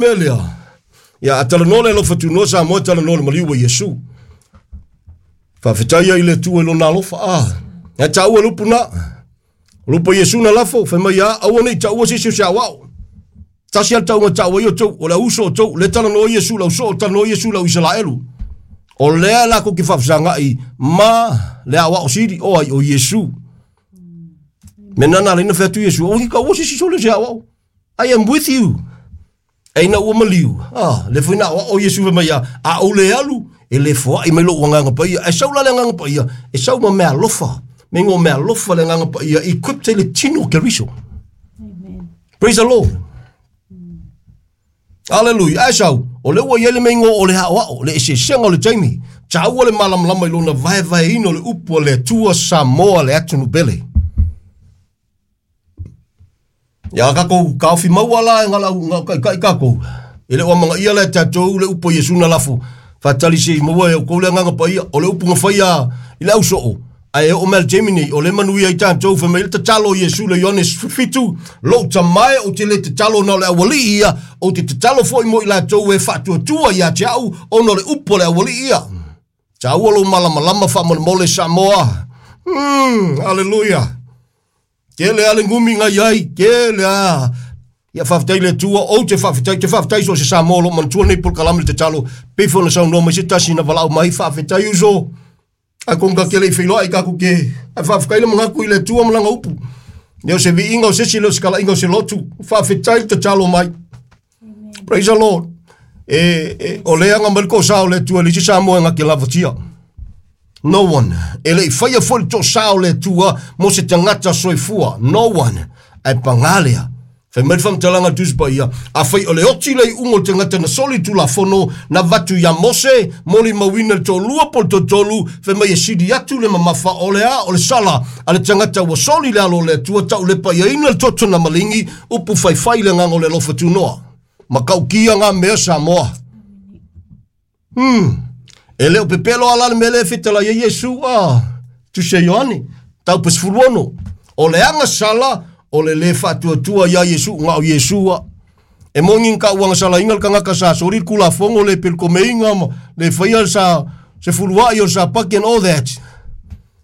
mea lea, ia a talanoa le alofa tunoa Samoa, talanoa le maliu o Iesu. Faafetai ai le Atua i lona alofa. Ah, e taua le upu na. O le upu a Iesu na lafo, fai mai a, aua ne i taua se isi o se aoao. Tasi a le tauga taua ai outou, o le auuso o outou, le talanoa Iesu le ausoo, talanoa Iesu le au Isaraelu. O lea latou te faafesagai ma le aoao sili, o ai o Iesu. Me nana leina fai atu Iesu, aua ne i taua se isi sole o se aoao. I am with you. E ina ua maliu, ah, le foi na aoao Iesu fai mai a, a ou le alu, e le foai mai lou agaga paia. E sau la le agaga paia, e sau ma mea alofa. Me ngo mea alofa le agaga paia, equipped ai le tino o Keriso. Amen. Praise the Lord. Hallelujah. Ai sau, o le ua i ai le meingo o le aoao, le eseesega o le taimi. Taua le malamalama i lona vaevaeina o le upu a le Atua Samoa le atunuu pele. Ia tatou taofi maua la e galau kai tatou. E le o amanaia la e tatou le upu a Iesu na lafo. Faatali se i maua e outou le agaga paia. O le upu na faia i le ausoo, ae oo mai le taimi nei, o le manuia ai tatou. Fai mai le tatalo a Iesu le Ioane 17, lou tamae ou te le tatalo na o le aualii ia, ou te tatalo foi mo i latou e faatuatua ia te au, ona o le upu a le aualii ia. Taua lou malamalama faamolemole Samoa. Hallelujah. Tele a le gumi na iai, tele a. Ia faafetai le Atua, ou te faafetai, te faafetai so o se Samoa o lo o manatua lenei polokalame le tatalo, pei foi ona saunoa mai se tasi na valaau mai, faafetai uso. Ae ko ka ke le i feiloai tatou te, ae faafetai le manatu i le Atua ma lana upu. Le o se viiga o se isi, le o se talaiga o se lotu. Faafetai le tatalo mai. Praise the Lord. E, e, o le aga mai le tosa o le Atua i le isi Samoa e na te lavatia. No one. E le i faia foi le tosa o le Atua mo se tagata soifua. No one. Ae pagā lea. Fai mai le faamatalaga a le Tusi Paia, afai o le oti le iuga o le tagata na soli le Tulafono na avatu ia Mose, molimauina le toalua po o le toatolu, fai mai e sili atu le mamafa o le a o le sala a le tagata ua soli le alo o le Atua, taulepaiaina le toto na maligi, upu faifai le agaga o le alofa tunoa. Matautia ngā mea Samoa. E le o pepelo ala le mea lea e fetalai ai Iesu a Tusi a Ioane, taupe 16. O le aga sala o le le faatuatua iā Iesu na o Iesu a. E moni ka uaga salaina le tagata sa soli le Tulafono le pelekomeiga ma le faia sa sefuluai o le Sapati and all that.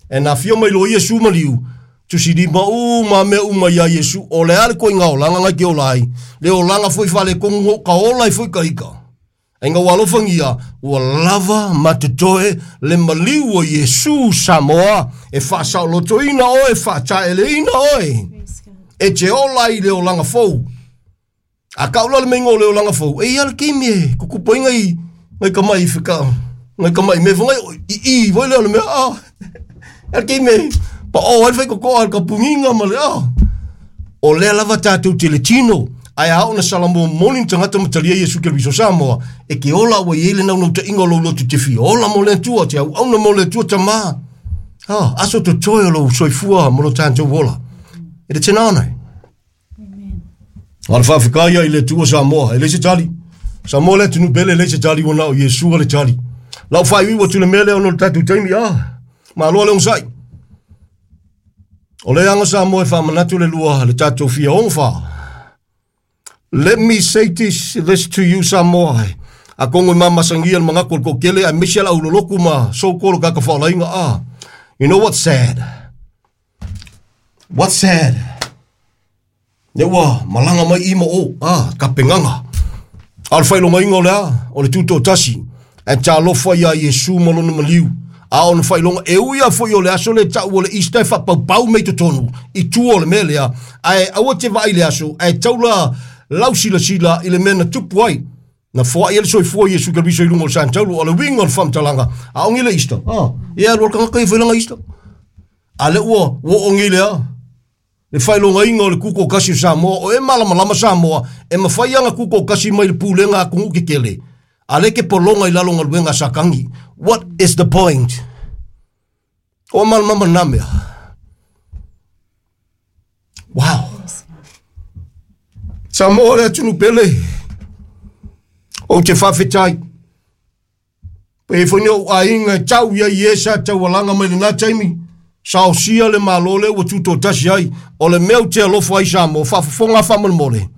E na afio mai loa Iesu ma liu, tusilima uma mea uma iā Iesu, o le a le koiga olaga nai te ola ai, le olaga foi faaletonu no ka ola ai foi ka ika. Ai nga ua alofagia, ua lava ma totoe le maliu o Iesu Samoa e faasaolotoina oe, faataeleina oe, e te ola ai i le olaga fou. A kau la le meinga o le olaga fou, e ia le taimi e kukupu ai ngai, ngai tamai i whika, ngai tamai me whangai, i i voi lea o le mea, ah, e le taimi e pa o ai le whaikokoa le kapunginga ma le, ah. O lea lava tātou te le tino, ae a ona Salamua moni ni tagata ma talia Iesu Keriso Samoa, e ke ola ua i ai le naunautaiga o lou lotu te fia ola mo le Atua, te auauna mo le Atua tamā. Ah, aso totoe o lou soifua mo lo tātou ola. E le tena ona e. A le faafetai ia i le Atua Samoa, e leai se tali. Samoa le atunuu pele, e leai se tali ua na o Iesu le tali. Lau faaiuiu atu le mea lea ona o le tatou taimi, ah, malo le onosai. O le aga Samoa e faamanatu le lua le tatou fia ono fa. Let me say this to you Samoa. Atonu e mamasagia le manatu o le toatele aemaise le aulolotu ma so-called tagata faolaina. Ah, you know what's sad? What's sad? Ne ua malaga mai i ma o, ah, ka pegaga. A o le faailogaina o le a? O le tutoatasi. Ae talofa iā Iesu ma lona maliu. A o le faailoga, e ui lava foi o le aso lea e tau o le Easter e faapaupau mai totonu i tua o le mea lea, ae aua te vaai i le aso, ae taula lau silasila i le mea na tupu ai. Na foai ai le soifua o Iesu Keriso i luga o le Santaulu, o le uiga o le faamatalaga, a o le Easter, ah, e alu le tagata ia fai lana Easter. A lea ua ua oo nei le a? Le faailogaina o le tutoatasi o Samoa, o e malamalama Samoa, e mafai lava ona tutoatasi mai le pulega a atunuu tetele, a lea e te pologa i lalo o galuega a Satani. What is the point? O malamalama na mea. Wow. Samoa le atunuu pele. Ou te faafetai. Pe foi ni ou aiga e tau i ai i e sa taualaga mai lena taimi, saosia le Malo lea ua tutoatasi ai. O le mea ou te alofa ai Samoa, faafofoga faamolemole.